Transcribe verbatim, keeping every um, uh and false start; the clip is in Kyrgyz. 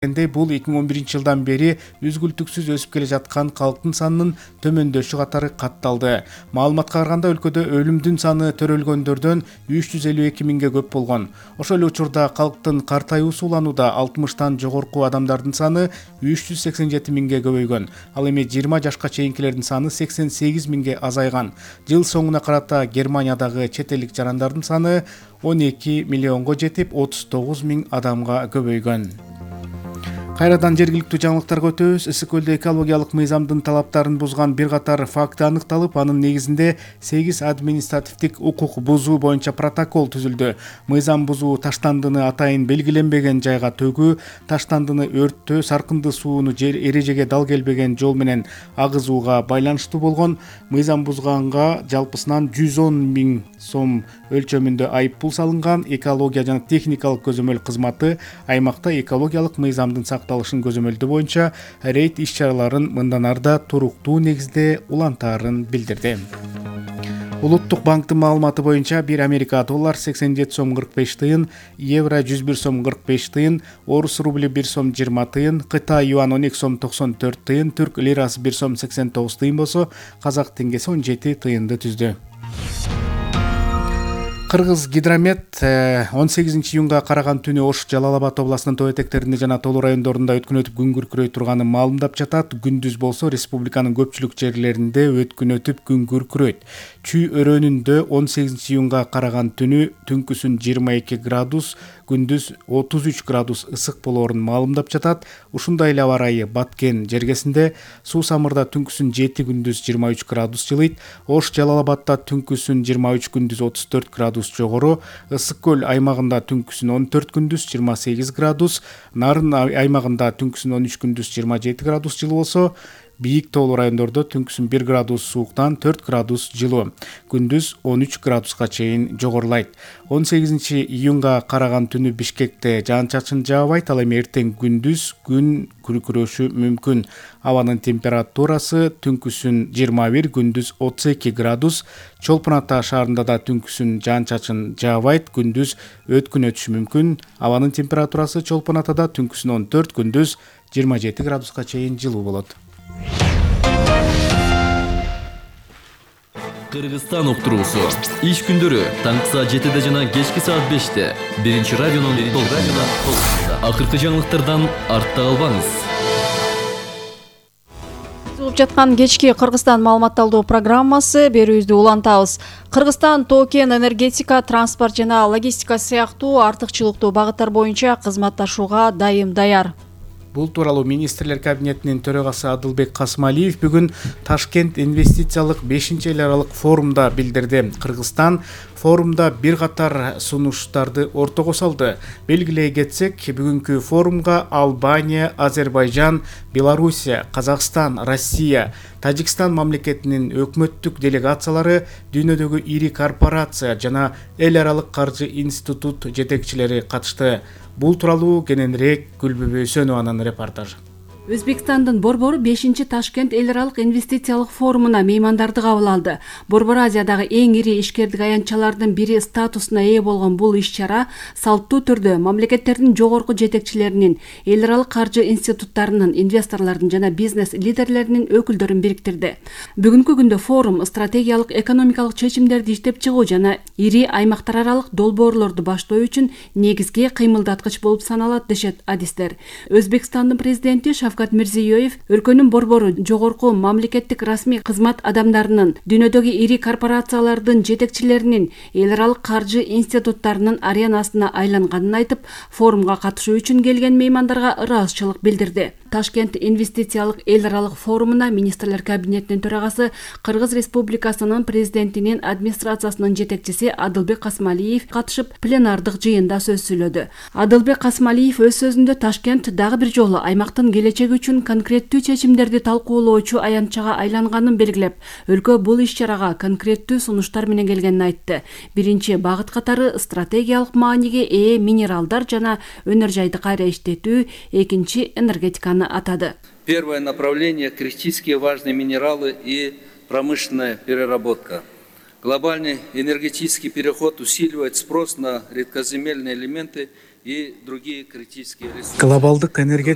Бул эки миң он биринчи жылдан бери үзгүлтүксүз өсүп келе жаткан калктын санынын төмөндөшү катары катталды. Маалыматка караганда өлкөдө өлүмдүн саны төрөлгөндөрдөн үч жүз элүү эки миңге көп болгон. Ошол эле учурда калктын картаюусу уланууда алтымыштан жогорку адамдардын саны үч жүз сексен жети миңге көбөйгөн. Ал эми жыйырма жашка чейинкилердин саны сексен сегиз миңге азайган. Жыл соңуна карата Германиядагы чет элдик жарандардын саны он эки миллионго жетип, отуз тогуз миң адамга көбөйгөн. Кайрадан жергиликтүү жаңылыктарга өтөбүз. Ысык көлдө экологиялык мыйзамдын талаптарын бузган бир катар факт аныкталып, анын негизинде сегиз административдик укук бузуу боюнча протокол түзүлдү. Мыйзам бузуу таштандыны атайын белгиленбеген жайга төгүү, таштандыны өрттөө, саркынды сууну эрежеге дал келбеген жол менен агызууга байланыштуу болгон. Мыйзам бузганга жалпысынан жүз он миң сом өлчөмүндө айып пул салынган. Экология жана техникалык көзөмөл кызматы аймакта экологиялык мыйзамдын сакталышын көзөмөлдөө боюнча рейд иш-чараларын мындан арда туруктуу негизде улантаарын билдирди. Улуттук банктын маалыматы боюнча бир Америка доллар сексен жети сом кырк беш тыйын, евро жүз бир сом кырк беш тыйын, орус рубли бир сом жыйырма тыйын, Кытай юан он эки сом токсон төрт тыйын, түрк лирасы бир сом сексен тогуз тыйын болсо, казак теңгеси он жети тыйынды түздү. Кыргыз гидромет он сегизинчи июнга караган түнү Ош, Жалал Абад областынын тоо этектеринде жана Тоолу райондорунда өткүн өтүп күн күркүрөй турганын маалымдап жатат. Күндүз болсо республиканын көпчүлүк жерлеринде өткүн өтүп күн күркүрөйт. Чүй өрөөнүндө он сегизинчи июнга караган түнү түнкүсүн жыйырма эки градус, күндүз отуз үч градус ысык болоорун маалымдап жатат. Ушундай эле аба ырайы Баткен жергесинде, Суу Самырда түнкүсүн жети, күндүз жыйырма үч градус жылыйт. Ош, Жалал Абадта түнкүсүн жыйырма үч, күндүз отуз төрт градус жогору, Ысык көл аймагында түнкүсүн он төрт, күндүз жыйырма сегиз градус, Нарын аймагында түнкүсүн он үч, күндүз жыйырма жети градус жылуу болсо, Бийик тоолуу райондордо түнкүсүн бир градус сууктан төрт градус жылуу, күндүз он үч градуска чейин жогорулайт. он сегизинчи июнга караган түнү Бишкекте жаан-чачын жаабайт, ал эми эртең күндүз күн күркүрөшү мүмкүн. Абанын температурасы түнкүсүн жыйырма бир, күндүз отуз эки градус. Чолпон Ата шаарында да түнкүсүн жаан-чачын жаабайт, күндүз өткүн өтүшү мүмкүн. Абанын температурасы Чолпон Атада түнкүсүн он төрт, күндүз жыйырма жети градуска чейин жылуу болот. Кыргызстан уктуруусу. Иш күндөрү таңкы саат жетиде жана кечки саат беште. Биринчи радионун толкунунда. Акыркы жаңылыктардан артта калбаңыз. Угуп жаткан кечки Кыргызстан маалыматталдоо программасы берүүбүздү улантабыз. Кыргызстан тоо-кен, энергетика, транспорт жана логистика сыяктуу артыкчылыктуу багыттар боюнча кызматташууга дайым даяр. Бул тууралуу министрлер кабинетинин төрагасы Адылбек Касмалиев бүгүн Ташкент инвестициялык бешинчи эл аралык форумда билдирди. Кыргызстан форумда бир катар сунуштарды ортого салды. Белгилей кетсек, бүгүнкү форумга Албания, Азербайжан, Белоруссия, Казакстан, Россия, Тажикстан мамлекетинин өкмөттүк делегациялары, дүйнөдөгү ири корпорация жана эл аралык каржы институт жетекчилери катышты. Бул тууралуу кененирээк Гүлбүбү Өсөнованын репортажы. Өзбекстандын Борбору бешинчи Ташкент эл аралык инвестициялык форумуна меймандарды кабыл алды. Борбор Азиядагы эң ири ишкердик аянтчалардын бири статусуна ээ болгон бул иш-чара салттуу түрдө мамлекеттердин жогорку жетекчилеринин, эл аралык каржы институттарынын, инвесторлордун жана бизнес лидерлеринин өкүлдөрүн бириктирди. Бүгүнкү күндө форум стратегиялык экономикалык чечимдерди иштеп чыгуу жана ири аймактар аралык долбоорлорду баштоо үчүн негизги кыймылдаткыч болуп саналат, дешет адистер. Өзбекстандын президенти Шавкат Мирзиёев өлкөнүн борбору жогорку мамлекеттик расмий кызмат адамдарынын, дүйнөдөгү ири корпорациялардын жетекчилеринин, эл аралык каржы институттарынын аренасына айланганын айтып, форумга катышуу үчүн келген меймандарга ыраазычылык билдирди. Ташкент инвестициялык эл аралык форумуна министрлер кабинетинин төрагасы, Кыргыз Республикасынын президентинин администрациясынын жетекчиси Адылбек Касмалиев катышып, пленардык жыйында сөз сүйлөдү. Адылбек Касмалиев өз сөзүндө Ташкент дагы бир жолу аймактын келечеги үчүн конкреттүү чечимдерди талкуулоочу аянтчага айланганын белгилеп, өлкө бул иш-чарага конкреттүү сунуштар менен келгенин айтты. Биринчи багыт катары стратегиялык мааниге ээ минералдар жана өнөр жайды кайра иштетүү, экинчи энергетиканы атады. Первое направление – критически важные минералы и промышленная переработка. Глобальный энергетический переход усиливает спрос на редкоземельные элементы и другие критические ресурсы. Глобалдык энергетика